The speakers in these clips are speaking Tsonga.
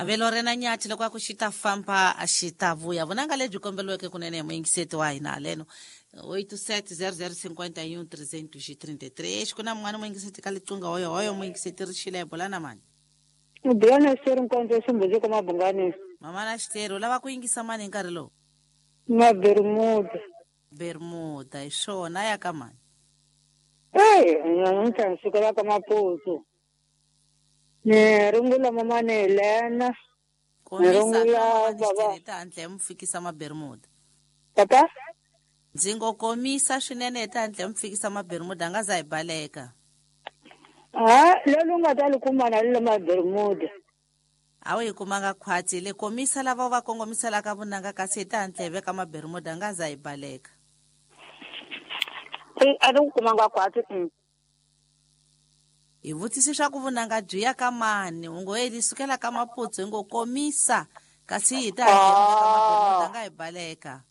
Avelo rena nyathi loko a ku xi ta famba a xi ta vuya. Vunanga lebyi komberiweke kunene hi muyingiseti wa hina haleno 87 00 51 333. Ku na mun'wana muyingiseti ka liqingho hoyo hoyo muyingiseti ri xile bola na mani. Bula Xiteri Nkondzo Ximbudzi ka Mabungani. Mama na Xiteri u lava ku yingisa mani hi nkarhi lowu? Na Bermuda. Bermuda hi swona ya ka mani. Ey, namuntlha ni sukela ka Maputsu. Ni rungula mamani Helena. Ni rungula baba. Hi ta handle mi fikisa ma Bermuda. Papa? Ndzi ngo komisa swinene hi ta handle mi fikisa ma Bermuda nga za hi baleka. Ha, lolu nga ta li kuma na le ma Bermuda. A wu yi kumanga khwatsi le komisa lava va kongomiselaka vunanga kasi hi ta handle hi veka ma Bermuda nga za hi baleka. A ni ku kumanga khwatsi. Hi vutisi swa ku vunanga byi ya ka mani u ngo li sukela ka Maputsu hi ngo komisa kasi hi ta handle hi veka ma Bermuda nga hi baleka.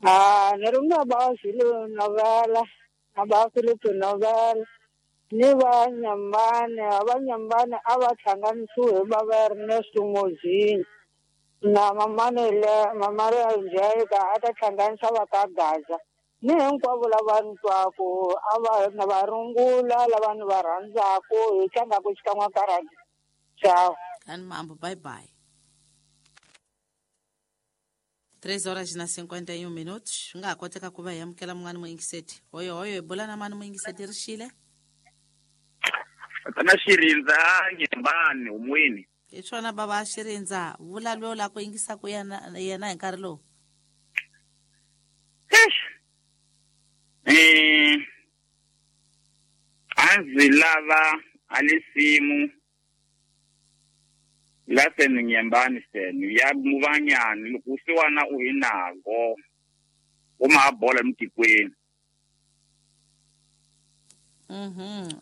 Ah, ni ri na ba Zulu novela, na ba Philip novela. Ni va Nyambane, va Nyambane a va hlanganisiwe hi va va Ernesto Mozini. Na mamane le mamare Njeka a ta hlanganisa va ka Gaza. Ni hinkwavo lava ni twaku a va na va rungula lava ni va rhandzaku hi tlangaku xikan'we ka radio. Ciao. Kani mambo, bye bye. 3 horas na 51 minutos. Swi nga ha koteka ku va hi amukela mun'wana muyingiseti. Hoyo hoyo hi bula na mani muyingiseti ri xile? Tana Xirindza Nyembani umweni. Hi swona baba Xirindza, vula loyi la ku yingisaka yena yena hi nkarhi lowu. A ndzi lava a lisimu la senu Nyembani senu ya muvanyani loko usiwana u hi nago u ma bola emitikweni.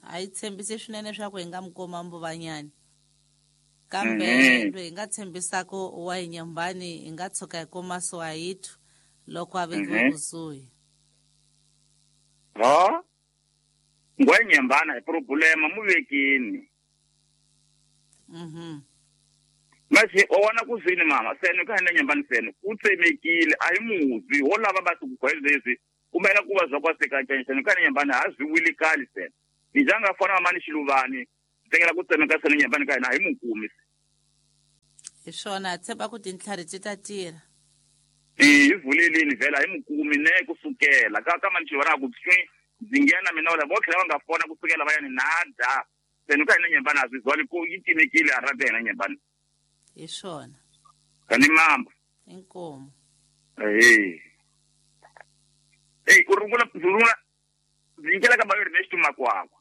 A yi tshembisi swinene swa ku hi nga mi kuma Mbuvanyani. Kambe loyi hi nga tshembisaka wa hi Nyembani hi nga tshuka hi kuma Swahithu loko a vekiwe kusuhi. Ha? Ngwa Nyembana hi problema muvekini. Mase o wana kuzini mama senu ka hina Nyembani senu u tsemekile a hi muzi ho lava va ku gwezezi kumela ku va zwa kwa seka senu ka hina Nyembani ha zwi wili kali senu ni janga fana mama ni Xiluvani tengela ku tsemeka senu Nyembani ka hina hi mukumi. Hi swona tshemba ku tintlhari ti ta tirha. Hi vulelini vhela hi mukumi ne kusukela ka ka mani Xiluvani a ku tswi ndzi nghena mina wala vo tlhela va nga fona kusukela va ya ni nada senu ka hina Nyembani a zwi zwali ku yi timekile a rata hina Nyembani. Hi swona. Kani mamba. Inkomo. Ku rungula ndzi nyikela ka ba Ernesto Makwakwa.